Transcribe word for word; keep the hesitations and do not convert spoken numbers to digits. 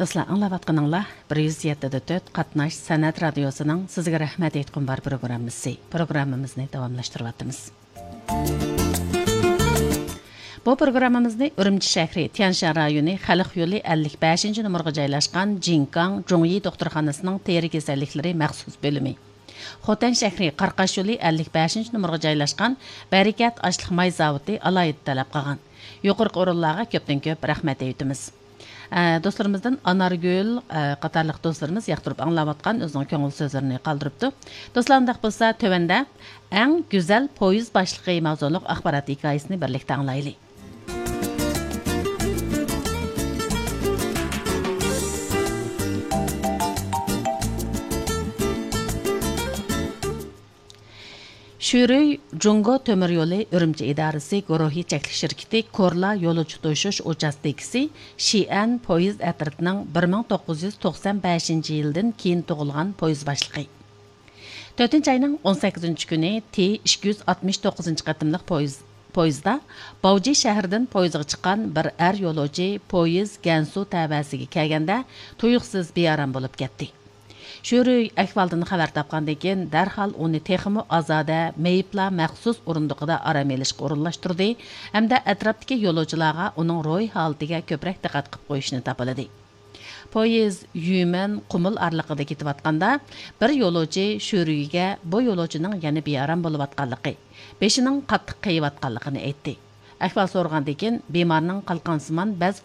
دوستلار، ئاڭلاۋاتقىنىڭلار بىر يۈز يەتتە دە تۆت قاتناش سەنئەت رادىيوسىنىڭ سىزگە رەھمەت ئېيتقۇم بار پروگراممىسى. پروگراممىمىزنى داۋاملاشتۇرۇۋاتىمىز. بۇ پروگراممىمىزنى ئۈرۈمچى شەھىرى، تيەنشان رايونى، خەلق يولى ئەللىك بەشىنچى نومۇرغا جايلاشقان جىنكاڭ جۇڭيى دوختۇرخانىسىنىڭ تېرە كېسەللىكلىرى مەخسۇس بۆلۈمى، خوتەن شەھىرى، قاراقاش يولى ئەللىك بەشىنچى نومۇرغا جايلاشقان بەرىكەت ئاشلىق ماي زاۋۇتى ئالاھىدە تەلەپ قىلغان. يۇقىرىقى ئورۇنلارغا كۆپتىن كۆپ رەھمەت ئېيتىمىز. ئە، دوستلىرىمىزدىن ئانارگۈل، ئە، قاتارلىق دوستلىرىمىز ياقتۇرۇپ ئاڭلاۋاتقان ئۆزىنىڭ كۆڭۈل سۆزلىرىنى قالدۇرۇپتۇ. دوستلار، ئۇنداق بولسا تۆۋەندە ئەڭ گۈزەل پويىز باشلىقى ماۋزۇلۇق ئاخبارات ھېكايىسىنى بىرلىكتە ئاڭلايلى. شۈرۈي جۇڭگو تۆمۈر يولى ئۈرۈمچى ئىدارىسى گۇرۇھى چەكلىك شىركىتى كورلا يولۇچى توشۇش ئۇچاستكىسى شىئەن پويىز ئەترىتىنىڭ بىر مىڭ توققۇز يۈز توقسان بەشىنچى يىلدىن كېيىن تۇغۇلغان پويىز باشلىقى. تۆتىنچى ئاينىڭ ئون سەككىزىنچى كۈنى تى ئىككى يۈز ئاتمىش توققۇزىنچى قېتىملىق پويىز، پويىزدا باۋجى شەھىرىدىن پويىزغا چىققان بىر ئەر يولۇچى پويىز گەنسۇ تەۋەسىگە كەلگەندە تۇيۇقسىز بىئارام بولۇپ كەتتى. شۈرۈي ئەھۋالدىن خەۋەر تاپقاندىن كېيىن، دەرھال ئۇنى تېخىمۇ ئازادە، مېيىپلار مەخسۇس ئورۇندۇقىدا ئارام ئېلىشقا ئورۇنلاشتۇردى ھەمدە ئەتراپتىكى يولۇچىلارغا ئۇنىڭ روھىي ھالىتىگە كۆپرەك دىققەت قىلىپ قويۇشنى تاپىلىدى. پويىز يۈمەن قۇمۇل ئارىلىقىدا كېتىۋاتقاندا، بىر يولۇچى شۈرۈيگە بۇ يولۇچىنىڭ يەنە بىئارام بولۇۋاتقانلىقى، بېشىنىڭ قاتتىق قېيىۋاتقانلىقىنى ئېيتتى. ئەھۋال سورىغاندىن كېيىن، بىمارنىڭ قالقانسىمان بەز